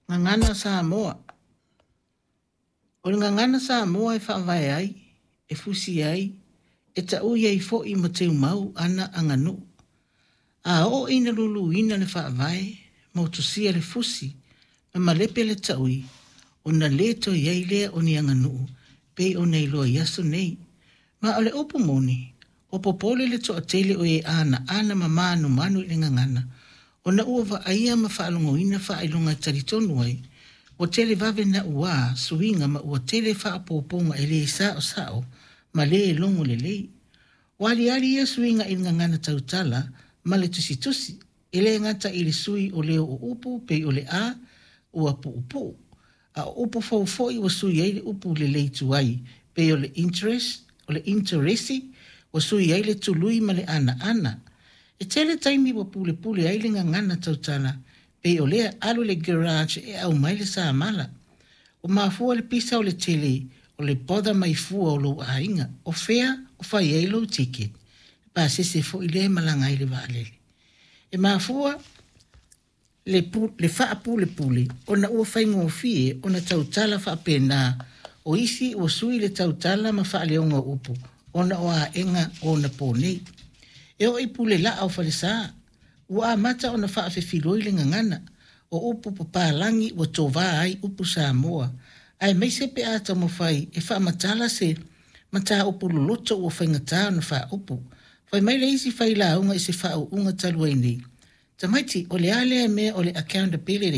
Gagana Samoa. O le gagana Samoa e faavae ai, e fusi ai, e taui ai foi ma teumau ana aganuu. A oo ina luluina le faavae, motusia le fusi, ma malepe le taui, ona le toe i ai lea o ni aganuu pei ona iloa i aso nei. Ma o le upu moni, ua popole le toatele o e anaana ma manumanu i le gagana, ona ua vaaia ma faalogoina faailoga e talitonu ai, ua televave nauā suiga ma ua tele faaopoopoga e le saosao ma le logo lelei. Ua aliali ia suiga i le gagana tautala ma le tusitusi, e le gata i le sui o leo o upu pei o le a ua puupuu, a o upu fou foi ua sui ai le upu lelei tuai pei o le interest, o le interesi, ua sui ai le tului ma le anaana. E tele taimi ua pulepule ai le gagana tautala pei o lea alu i le garage e aumai le samala. Ua mafua le pisa o le tele o le bother mai fua o lou aiga, o fea o fai ai lou ticket, le pasese foi lea e malaga ai i le vaalele. E mafua le, le faapulepule ona ua faigofie ona tautala faapena, o isi ua sui le tautala ma faaleoga o upu ona o aega o onapo nei. E oo i pule laa o falesa, ua amata ona faafefiloi le gagana, o upu papalagi ua tovā ai upu Samoa, aemaise pe a taumafai e faamatala se mataupu loloto ua faigata ona faaupu. Fai mai le isi failauga i se faauuga talu ai nei, Tamaiti, o le a lea mea o le accountability?